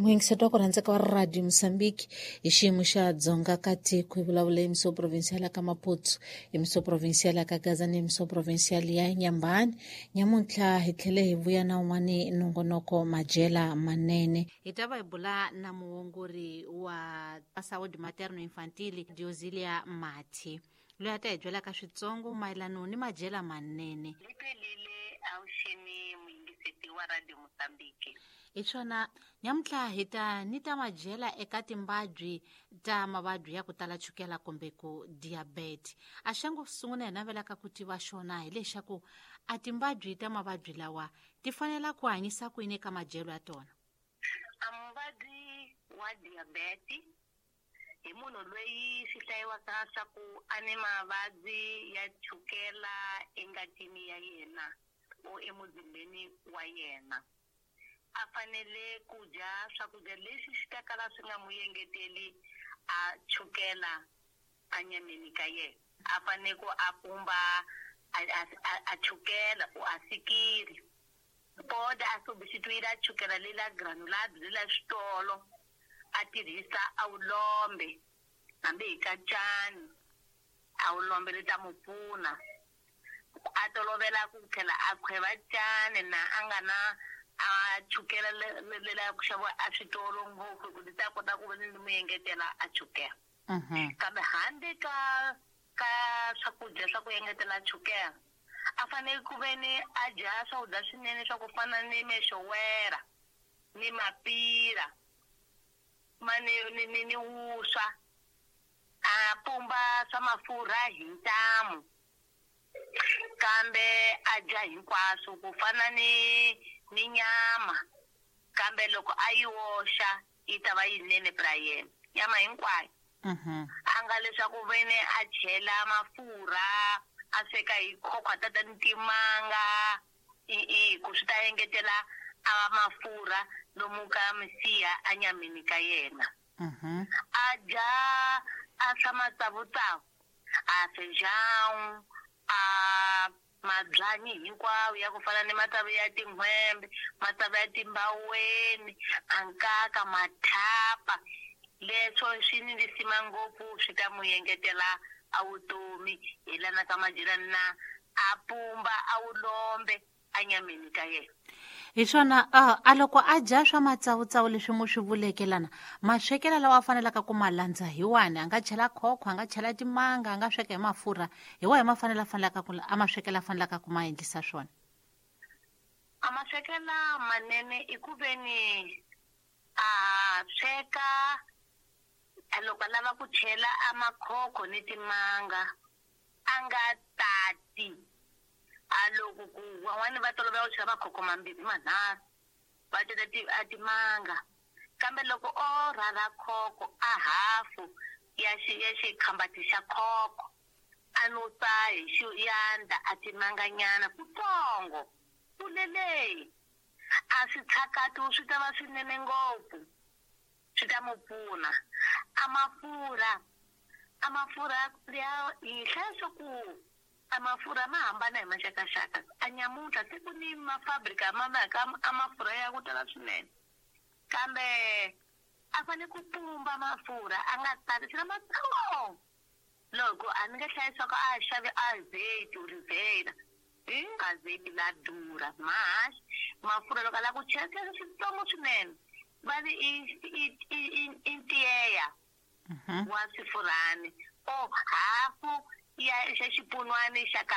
Muyingiseti wa ku rhandzeka wa Radio Mozambique, hi xiyimo xa dzonga ka tiko hi vulavula emissão provincial ya ka Maputo, emissão provincial ya ka Gaza ni emissão provincial ya Nyambani. Nyamuntlha hi tlhele hi vuya na un'wani nongonoko, Majela Manene. Hi ta va hi bula na muongori wa saúde materno infantil, Diozilia Mathi, loyi a ta hi byelaka switsongo mayelano ni madyela manene. Liphelile avuxeni, muyingiseti wa Radio Mozambique. Hi swona, nyamuntlha hi ta ni ta madyela eka timbabyi ta mavabyi ya ku tala chukela kumbe ku diabete. A xa ngo sungula hi navelaka ku tiva xona hileswaku a timbabyi ta mavabyi lawa ti fanela ku hanyisa kwini eka madyelo ya tona? A muvabyi wa diabete hi munhu loyi swi hlayiwaka swa ku a ni mavabyi ya chukela engatini ya yena o emuzimbeni wa yena. A fanele ku dya swakudya leswi swi ta kala swi nga mu engeteli a chukela anyameni ka yena. A fanele ku a pumba a chukela o a sikiri, pode a substituir a chukela lela granulado lela switolo, a tirhisa a vulombe, hambi hi kacani a vulombe ri ta mu pfuna. A tolovela ku tlhela a khweva cani na a nga na a chukela lela ku xaviwa a switolo ngopfu, ku ti ta kota ku va ni mu engetela a chukela. Kambe handle ka swakudya swa ku engetela chukela, a fanele ku ve ni a dya swakudya swinene swa ku fana ni mexowera ni mapira ma ni wuswa, a pumba swa mafurha hi ntamu, kambe a dya hinkwaswo ku fana ni nyama, kambe loko a yi oxa yi ta va yinene pra yena, nyama hinkwayo. A nga leswaku vene a chela mafurha, a sweka hi khokhwa ta timanga, i ku swi ta engetela a mafurha lomu ka misiha anyameni ka yena. A dya a swa matsavutsavu, a feijão, a mabyanyi hinkwawo ya ku fana ni matsavu ya tin'hwembe, matsavu ya timbaweni, a nkaka, mathapa, leswo swi ni lisima ngopfu, swi ta mu engetela a vutomi. Hi lana ka madyelani na a pumba a vulombe anyameni ka yena. Hi swona, a loko a dya swa matsavutsavu leswi mu swi vuleke lana, maswekelo lawa a fanelaka ku ma landza hi wani? A nga chela khokho, a nga chela timanga, a nga sweka hi mafurha, hi wahi ma fanele a fanelaka ku a maswekelo a fanelaka ku ma endlisa swona? A maswekelo manene i ku ve ni a sweka, loko a lava ku chela a makhokho ni timanga, a nga tati. A loko ku van'wani va tolovela ku chela makhokho mambirhi manharhu, va teka a timanga, kambe loko o rhurha khokho a hafu ya xikhambati xa khokho, a nusa hi xiyandla a timanganyana kutsongo kulele, a swi tshakati, swi ta va swinene ngopfu, swi ta mu pfuna. A mafurha ya hi hlaya swa ku a mafurha ma hambana hi maxakaxaka. A nyamuntlha se ku ni mafabrika ma maka a mafurha ya ku tala swinene, kambe a fanele ku pumba mafurha, a nga tati chela matsongo. Loko a ni nge hlayi swa ku a xavi azeite oliveira, hi azeite la durha mahaxi. Mafurha loko a lava ku chela, chela switsongo swinene, va ri i ntiyeya wa swifurhani o hafu ya xa xipunwani xa.